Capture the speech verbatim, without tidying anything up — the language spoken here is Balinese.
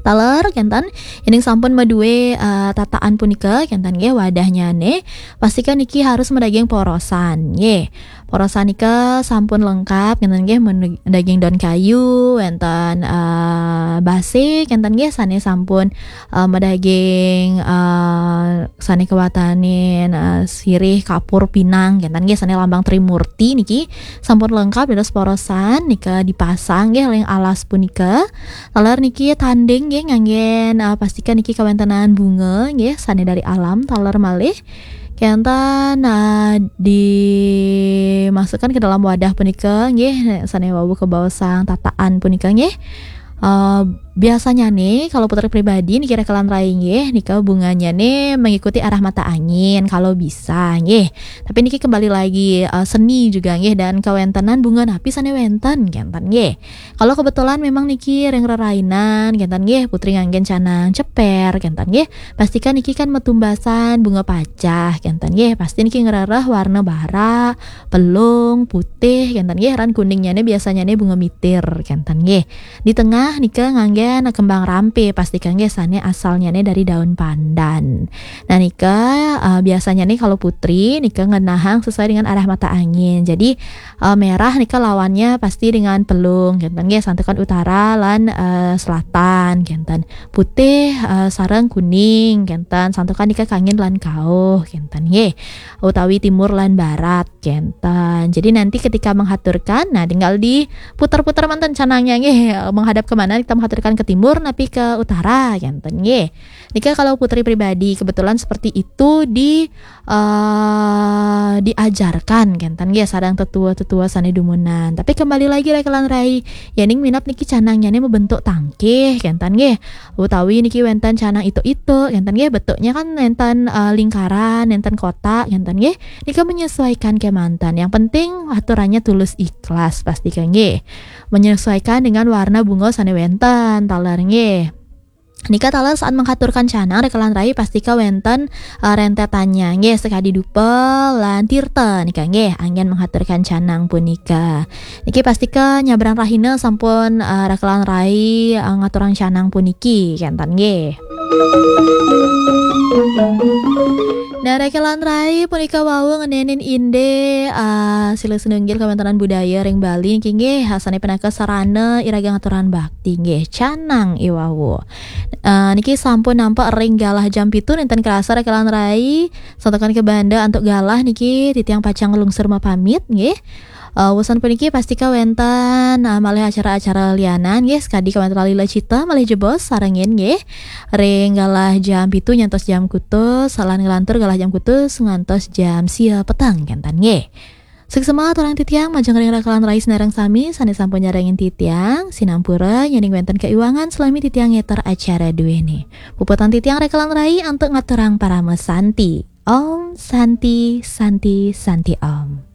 Taler kenten, yéning sampun madué, eh, tataan punika kenten nggih, wadahnyane, pastika niki harus madaging porosan nggih. Porosan nika sampun lengkap kenten nggih, madaging daun kayu, wenten, eh, base kenten nggih, sane sampun, eh, madaging, eh, sane kawatanin, eh, sirih, kapur, pinang kenten nggih, sane lambang Trimurti niki sampun lengkap dados porosan nika dipasang nggih ring alas punika. Taler niki tanding nggih nganggen, eh, pastika niki kawentenan bunga nggih sane dari alam taler malih. Kenten, eh, dimasukkan ke dalam wadah punika nggih sane wau kabaosang tataan punika nggih. Eh, biasanya nih kalau putri pribadi niki rekelan rai nggih nika bunganya nih mengikuti arah mata angin kalau bisa nggih. Tapi niki kembali lagi, eh, seni juga nggih dan kawentenan bunga napi sane wenten kenten nggih. Kalau kebetulan memang niki ring rerainan kenten nggih, putri nganggen canang ceper kenten nggih, pastika niki kan matumbasan bunga pacah kenten nggih, pasti niki ngrereh warna bara, pelung, putih kenten nggih, ran kuningnyane biasanyane bunga mitir kenten nggih. Di tengah nika nganggen kembang rampe, pastika nggih sane asalnyane dari daun pandan. Nah nika, eh, biasanya nih kalau putri nika ngenahang sesuai dengan arah mata angin. Jadi, eh, merah nika lawannya pasti dengan pelung kenten nggih, santukan utara lan, eh, selatan kenten. Putih, eh, sareng kuning kenten, santukan nika kangin lan kauh kenten nggih, utawi timur lan barat kenten. Jadi nanti ketika menghaturkan, nah tinggal diputar-putar manten canangnya nggih, menghadap ke mana kita menghaturkan, ke timur napi ke utara kenten nggih. Nika kalau putri pribadi kebetulan seperti itu di, eh, diajarkan kenten nggih sareng tetua-tetua sane dumunan. Tapi kembali lagi rekelan rai, yening minab niki canangnyane mabentuk tangkih kenten nggih, utawi niki wenten canang ituk-ituk kenten nggih, bentuknya kan nenten, eh, lingkaran, nenten kotak kenten nggih. Nika menyesuaikan kemanten. Yang penting aturannya tulus ikhlas pastika nggih. Menyesuaikan dengan warna bunga sane wenten taler nggih. Nika taler saat menghaturkan canang rekelan rai pastika wenten, eh, rentetannya nggih, sekadi dupa lan tirta nika nggih anggen menghaturkan canang punika. Niki pastika nyabrang rahina sampun, eh, rekelan rai, eh, ngaturang canang puniki kenten nggih. Nah, rekelan rai punika wau ngenenin indik, eh, silih sinunggil kawentenan budaya ring Bali niki nggih, sane pinaka sarana iraga ngaturang bakti nggih, canang iwau. Eh, niki sampun nampak ring galah jam pitu nenten kerasa rekelan rai, santukan kebanda antuk galah niki titiang pacang nglungsur mapamit nggih. Eh, wusan puniki pastika wenten, eh, malih acara-acara lianan nggih, sekadi kawentenan Lila Cita malih jebos sarengin nggih. Ring galah jam pitu nyantos jam kutus, lan nglantur galah jam kutus ngantos jam sia peteng kenten nggih. Suksma aturang titiang majeng ring rekelan rai sinareng sami sane sampun nyarengin titiang, sinampura yening wenten kaiwangan salami titiang ngeter acara duene. Puputang titiang rekelan rai antuk ngaturang parama santi. Om Santi, Santi, Santi Om.